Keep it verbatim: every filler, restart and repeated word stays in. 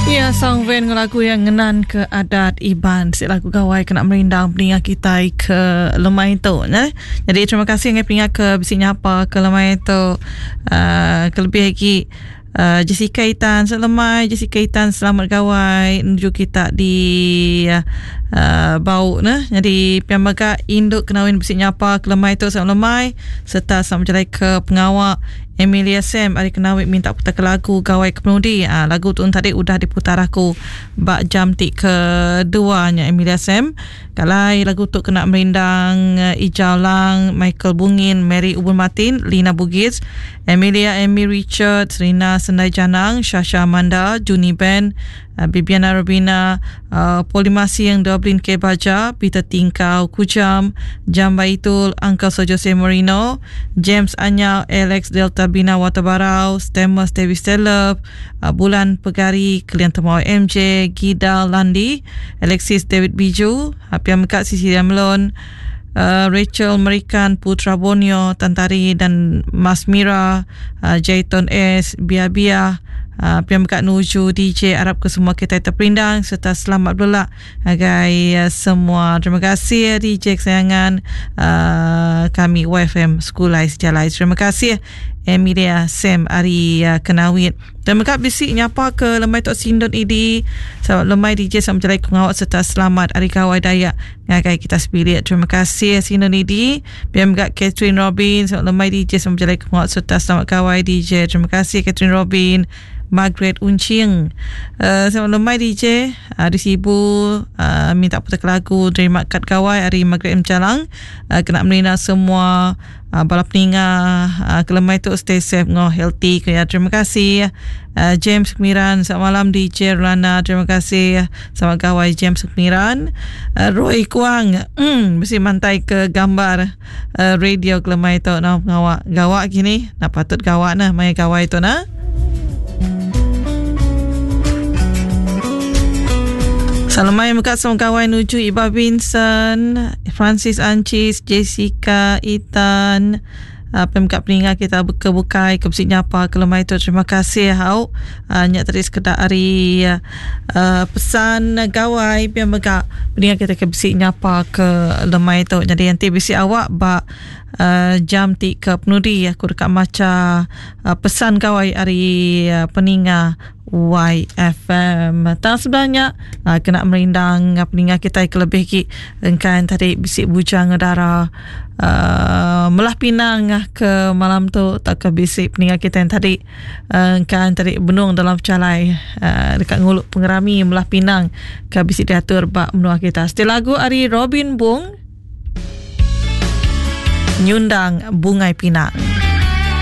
Ya, Sang Van lagu yang ngenan ke adat Iban. Si lagu gawai kena merindang peninga kita ke lemai tu. Ne? Jadi terima kasih dengan peninga ke bisi nyapa ke lemai tu. Uh, kelebih lagi uh, Jessica Itan selemai Jessica Itan selamat gawai menuju kita di uh, bau ne. Jadi pian mega induk kenawin bisi nyapa ke lemai tu selamat lemai serta selamat berjalan ke pengawak Emilia Sam hari kenawit minta putar ke lagu Gawai Kepenudi. Ha, lagu tu tadi udah diputar aku bak jam ti keduanya Emilia Sam. Kalau lagu tu kena merindang Ijau Lang, Michael Bungin, Mary Ubun Martin, Lina Bugis, Emilia Amy Richard, Rina Sendai Janang, Shasha Amanda, Juni Ben, Bibiana Rubina, uh, Polimasi yang Dublin K. Baja, Peter Tingkau, Kujam, Jamba Itul, Uncle So Jose Moreno, James Anyau, Alex Delta Bina Watabarau, Stemus Davis Telep, uh, Bulan Pegari, Kalian Temau M J, Gida Landi, Alexis David Biju, Hapiam Mekat Cecilia Melon, Uh, Rachel Merikan, Putra Borneo, Tantari dan Mas Mira, uh, Jaiton S, Bia Bia, uh, Piam Mekat Nuju, D J Arab ke semua kita terperindang serta selamat berlak agai uh, semua. Terima kasih D J kesayangan uh, kami Y F M Sekulai Sejalai. Terima kasih Emilia Sam Ari uh, Kenawit. Dan mereka bisik nyapa ke lemai Tok Sindon I D. Selamat lemai D J, selamat berjalan pengawak serta selamat Hari Gawai Dayak ngagai kita sebilik. Terima kasih Sindon I D. Biar mereka Catherine Robin, selamat lemai D J, selamat berjalan pengawak serta selamat Gawai D J. Terima kasih Catherine Robin. Margaret Uncing. Uh, selamat lemai D J. Hari Sibu uh, minta putar lagu terima kad gawai hari Margaret M. Jalang. Uh, kena melina semua uh, bala peninga uh, kelemai tu stay safe ngo healthy ya. Terima kasih uh, James Kemiran. Selamat malam D J Rana. Terima kasih. Selamat gawai James Kemiran. Uh, Roy Kuang mm, mesti mantai ke gambar uh, radio kelemai tu nak pengawak gawak kini nak patut gawak nah mai gawai tu nah. Salam mekat semua kawan nuju Iba Vincent, Francis Ancis, Jessica, Ethan, uh, pemkat peninga kita kebukai ke besi nyapa ke lemai tu. Terima kasih hau. Uh, nyak tadi sekedar hari uh, pesan gawai biar megak peninga kita ke besi nyapa ke lemai tu. Jadi nanti besi awak bak uh, jam ti ke penudi aku dekat maca uh, pesan gawai hari uh, peninga Y F M. Tak sebenarnya uh, kena merindang peninga kita kelebih ki engkan tadi bisik bujang udara uh, melah pinang ke malam tu tak ke bisik peninga kita yang tadi uh, engkan tadi benung dalam calai uh, dekat nguluk pengerami melah pinang ke bisik diatur bak menua kita. Setelah lagu ari Robin Bung nyundang Bungai Pinang.